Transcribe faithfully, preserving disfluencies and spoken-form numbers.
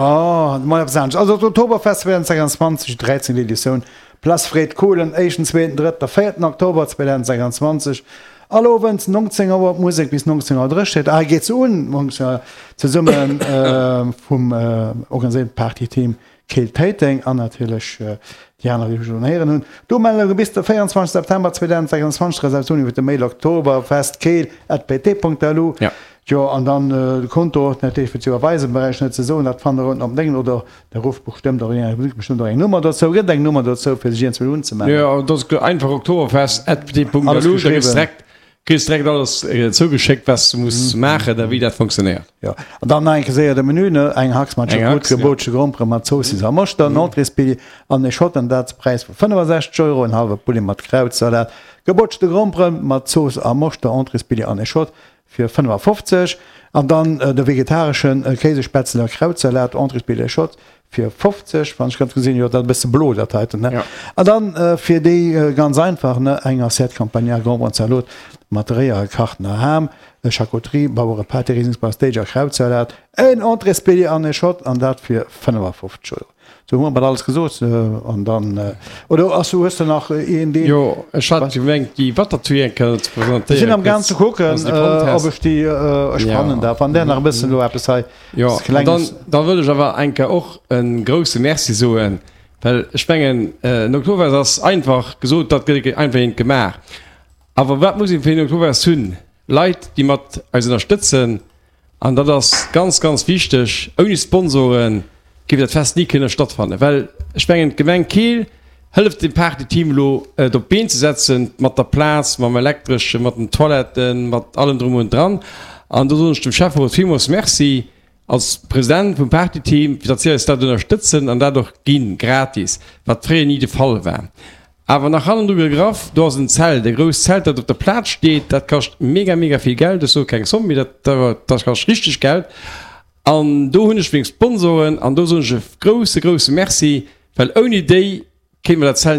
Oh, mol eppes anescht. Also d'Oktoberfest zweitausendsechsundzwanzeg, dräizéngt Editioun, Place Fred Kohlen, éischten, zweeten, drëtten a véierten Oktober zweitausendsechsundzwanzeg, all Owend neunzehn Auer d'Musek bis neunzehn Auer dréchent. Ah, geet se un, neunzehn Auer, zesumme vum organiséierten Partyteam Keel-Téiteng an natierlech déi aner, déi ech elo héieren hunn. D'Umeldunge bis de véierundzwanzegste September zweitausendsechsundzwanzeg, Reservatioun iwwer de Mail oktoberfestkeel at pt Punkt lu. Jo, an dann de Konto, natierlech fir ze iwwerweisen, brauch ech net ze soen, dat fannt der unten op dengem, oder der rufft bestëmmt och eng, bestëmmt och eng Nummer dozou, gëtt eng Nummer dozou, fir sech iergendwéi unzemellen. Jo, dat ass einfach oktoberfest at pt Punkt lu, Alles da kriss geschriwwen. direkt, kriss direkt alles zougeschéckt, wat s du muss maachen a wéi dat funktionéiert. Jo, an dann nach eng Kéier séier de Menü, ne, eng Hax mat Eng Choucroute, Hax, ja. gebrotsche Grompere mat Zoossiss a Moschter, en Entréesbilljee an e Shot, an dat zu Präis vu fënnefasechzeg Euro, en hallwe Poulet mat Krautsalat, gebrotschte Grompere mat Zooss a Moschter, Entréesbilljee an e Shot fir fënnefafofzeg, an dann de vegetareschen Kéisespätzle a Krautsalat, Entréesbilljee, Shot fir fofzeg, wann ech ganz gesinn, jo, dat e bësse blo, dat heiten, ne? Ja. An dann fir déi ganz einfach, ne, eng Assiette Campagnard, Gromperen Zalot mat réier gekachter Ham, Charcuterie, Bauerepaté, Rieslingsbauer Steak a Krautsalat, en Entréesbilljee an e Shot, an dat fir fënnefafofzeg Euro. Sou hu mer bal alles gesot, an dann, oder ass, hues de nach een deen? Jo, ech hat gemengt déi Watertouille eng Kéier ze presentéieren. Ech sinn am gaang ze kucken, Wann s de fonnt häss. ob ech déi, ech fannen dat, wann där nach e bëssen elo eppes hei Jo, an Klenges. dann, da wëll ech awer eng Kéier och e grouse Merci soen, well ech mengen, en Oktoberfest ass einfach gesot, dat gëtt einfach eent gemaach. Awer wat muss ee fir en Oktoberfest hunn? Leit, déi mat eis ënnerstëtzen. An dat ass ganz, ganz wichteg. Ouni Sponsoren géif dat Fest ni kënne stattfannen. Well ech mengen, d'Gemeng Keel hëlleft dem Partyteam elo, et op d'Been ze setzen, mat der Plaz, mam Elektreschen, mat den Toiletten, mat allem drum und dran. An do soen ech dem Schäfferot villmools Merci als President vum Partyteam, fir datt si eis dat ënnerstëtzen an dat och ginn, gratis, wat fréier ni de Fall war. Awer nach hannendru gegraff, do ass en Zelt, e grousst Zelt, dat op der Plaz steet, dat kascht mega, mega vill Geld, ech soe keng Zomm, mee dat, dat kascht richteg Geld. An do hunn ech meng Sponsoren an do soen ech e grousse, grousse Merci, well ouni déi kéinte mer dat Zelt ni